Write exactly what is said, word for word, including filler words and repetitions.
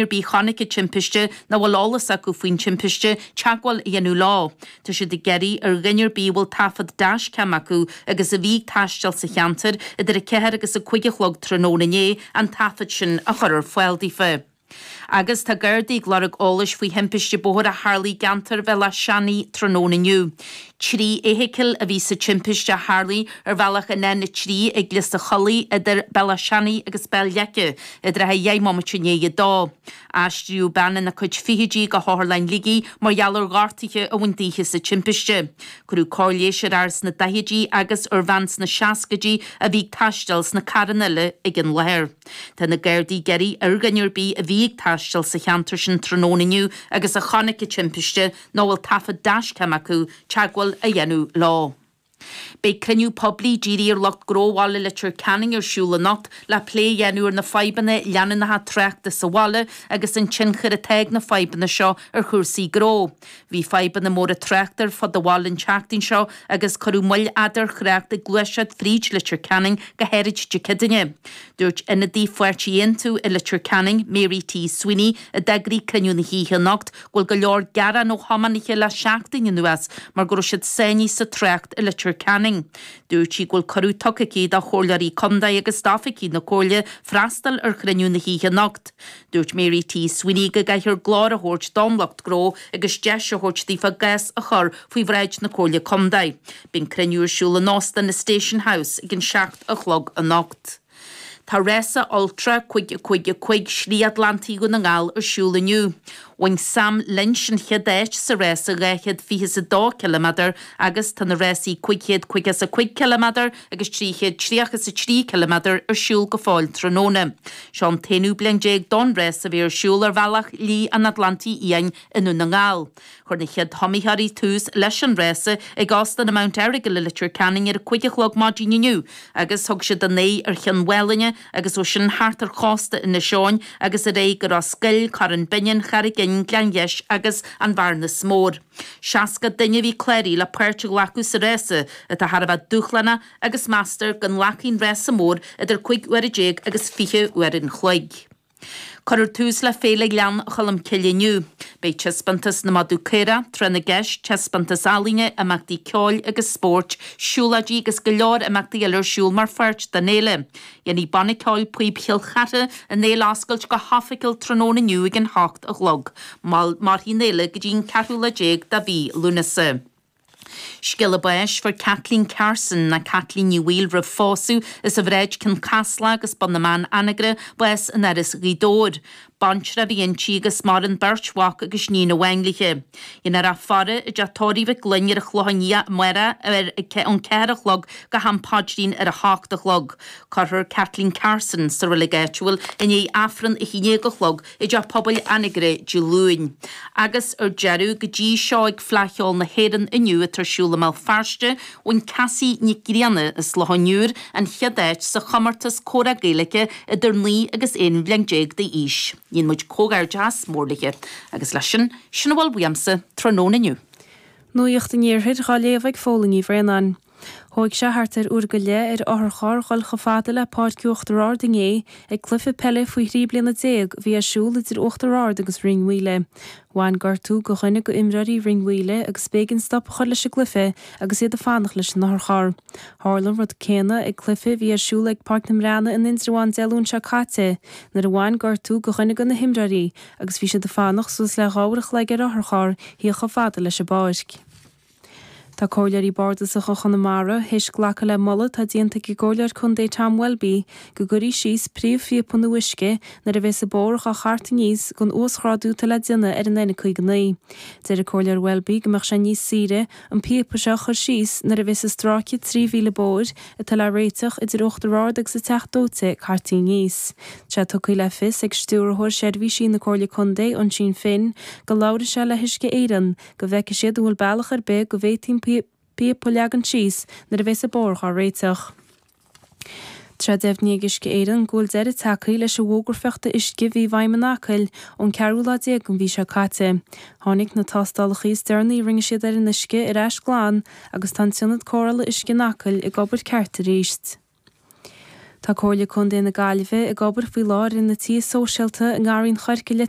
ar bith a chonaic an timpiste nó a bhfuil eolas acu faoin timpiste teagmháil a dhéanamh leo. Tá siad ag iarraidh ar dhuine ar bith a bhfuil taifead dashcam acu agus a bhí ag taisteal sa cheantar idir a ceathair agus a cúig a chlog tráthnóna inné an taifead sin a chur ar fáil daofa. Agus tá Gardaí ag lorg eolais faoi thimpiste bóthair a tharlaigh i gceantar Bhéal Átha Seanaidh tráthnóna inniu. Trí fheithicil a bhí sa timpiste a tharlaigh ar bhealach an N a trí ag Lios a' Chollaigh idir Béal Átha Seanaidh agus Béal Leice i dtrátha dheich mbomaite i ndiaidh a dó. Aistríodh bean ina cuid fichidí go hOtharlann Shligigh mar gheall ar ghortuithe a bhain daoithe sa timpiste. Cuireadh cóir leighis ar fhear sna daichidí agus ar bhean sna seascaidí a bhí ag taisteal sna carranna eile ag an láthair. Tá na Gardaí ag iarraidh ar dhuine ar bith a bhí ag taisteal sa cheantar sin tráthnóna inniu agus a chonaic an timpiste nó a bhfuil taifead dashcam acu, teagmháil a dhéanamh leo. Beidh cruinniú poiblí dírithe ar lucht gnó bhaile Leitir Ceanainn ar siúl anocht le plé a dhéanamh ar na fadhbanna leanúnacha tráchta sa bhaile agus an tionchar atá ag na fadhbanna seo ar chúrsaí gnó. Bhí fadhbanna móra tráchta ar fud an bhaile an tseachtain seo agus cuireadh moill fhada ar thrácht ag gluaiseacht fríd Leitir Ceanainn go háirid Dé Céadaoine. Dúirt ionadaí Pháirtí Aontú i Leitir Ceanainn, Mary T Sweeney, a d'eagraigh cruinniú na hoíche anocht, go bhfuil go leor gearán ó thiománaithe le seachtain anuas mar go raibh siad sáinnithe sa trácht i Leitir Ceanainn. Dúirt sí go bhfuil cuireadh tugtha aici do chomhairleoirí contae agus d'oifigigh na comhairle freastal ar chruinniú na hoíche anocht. Dúirt Mary T Sweeney go gcaithfear glór a thabhairt don lucht gnó agus deis a thabhairt daofa a gcás a chur faoi bhráid na Comhairle Contae. Beidh an cruinniú ar siúl in Óstán na Station House ag an seacht a chlog anocht. Tá rása Ultra cúig a cúig a cúig Slí Atlantaigh Dhún na nGall ar siúl inniu. Bhain Sam Lynch an chéad áit sa rása dhá chéad fiche is a dó ciliméadar agus tá na rásaí cúig chéad caoga is a cúig ciliméadar agus trí chéad tríocha is a trí ciliméadar ar siúl go fóill tráthnóna. Seo an t-aonú bliain déag don rás a bheidh ar siúl ar bhealach Shlí an Atlantaigh Fhiáin i nDún na nGall. Chuir na chéad iomaitheoirí tús leis an rása ag Óstán an Mount Errigal i Leitir Ceanainn ar a cúig a chlog maidin inniu agus thug siad a n-aghaidh ar Chionn Mhálanna agus ó sin thart ar chósta Inis Eoghain agus ar aghaidh go Ros Goill, Corran Binnein, Carraig Fhinn, Gleann Gheis agus an Bhearnas Mór. Seasca duine a bhí cláraithe le páirt a ghlacadh sa rása atá thar a bheith dúshlánach agus meastar go nglacfaidh an rása mór idir cúig uaire déag agus fiche uair an chloig. Cuirfear tús le Féile Ghleann Cholm Cille inniu. Beidh taispeántas na madadh caorach, tráth na gceist, taispeántas ealaíne, imeachtaí ceoil agus spóirt, siúlóidí agus go leor imeachtaí eile ar siúl mar pháirt den fhéile. Dhéanfaidh Banna Ceoil Píob Chill Chartha an fhéile a oscailt go hoifigiúil tráthnóna inniu ag an hocht a chlog. Mairfidh an fhéile go dtí an ceathrú lá déag de mhí Lúnasa. Scéala báis, Fuair Kathleen Carson, nó Caitlín Ní Bhaoill roimh phósadh, as an Bhráid, Cionn Caslach agus Bun na mBan, Anagaire, bás in Áras Ghaoth Dobhair. Baintreach a bhí inti agus maireann beirt mhac agus níon amháin léi. Déanfar í a faire i dteach tórraimh Mhic Fhloinn ar an Chlochán Liath amárach ar ón ceathair a chlog go ham paidrín ar a hocht a chlog. Cuirfear Kathleen Carson sa reilig áitiúil i ndiaidh Aifreann a haon déag a chlog i dTeach Pobail Anagaire Dé Luain. Agus ar deireadh, go dtí seo ag Fleadh Cheoil na hÉireann inniu atá ar siúl i mBéal Feirste, bhain Cassie Nic Grianna as Loch an Iúir an chéad áit sa chomórtas comhrá Gaeilge idir naoi agus aon bhliain déag d'aois. Dhéan muid comhghairdeachas mór léi. Agus leis sin, sin a bhfuil uaimse tráthnóna inniu. Nuacht an Iarthair dhá léamh ag Fódhla Ní Bhraonáin. Thóig sé thart ar uair go leith ar otharcharr dhul chomh fada le Páirc Uachtar Ard inné ag cluiche peile faoi thrí bliana déag a bhí ar siúl idir Uachtar Ard agus Rinn Mhaoile. Bhain gortú go dhuine go imreoirí Rinn Mhaoile agus b'éigean stop a chur leis an gcluiche agus iad ag fanacht leis an otharcharr. Tharla an rud céanna ag cluiche a bhí ar siúl ag Páirc na mBreanna in Indreabhán Dé Luain seo caite nuair a bhain gortú go dhuine go na himreoirí agus bhí siad ag fanacht suas le dhá uair a chloig ar otharcharr thíocht chomh fada leis an bpáirc. Tá Comhairleoirí Bardasacha Chonamara théis glacadh le moladh atá déanta ag an gComhairleoir Contae Tom Welby go gcuirfí síos príomhphíopa nua uisce nuair a bheas an bóthar dhá chart aníos don uasghrádú atá le déanamh ar an N caoga naoi. Deir an Comhairleoir Welby go mbeadh sé níos saoire an píopa seo a chur síos nuair a bheas an stráice trí mhíle bóthair atá le réiteach idir Uachtar Ard agus an Teach Dóite cartaí aníos. Tá sé tugtha le fios ag Stiúrthóir Seirbhísí na Comhairle Contae, Oisín Finn, go labharfaidh sé le hUisce Éireann go bhfeicfidh siad an bhfuil bealach ar bith go bhféadfaí an píopa a leagan síos nuair a bheas an bóthar dhá réiteach. Tá sé deimhnithe ag Uisce Éireann go bhfuil deireadh tagtha leis an bhfógra fiuchta uisce a bhí i bhfeidhm in Acaill ón ceathrú lá déag den mhí seo caite. Tháinig na tástálacha is deireanaí a rinne siad ar an uisce ar ais glan agus tá an t-ionad cóireála uisce in Acaill ag obair ceart arís. Tá Comhairle Contae na Gaillimhe ag obair faoi láthair ar na tithe sóisialta i nGarraí an Choirce le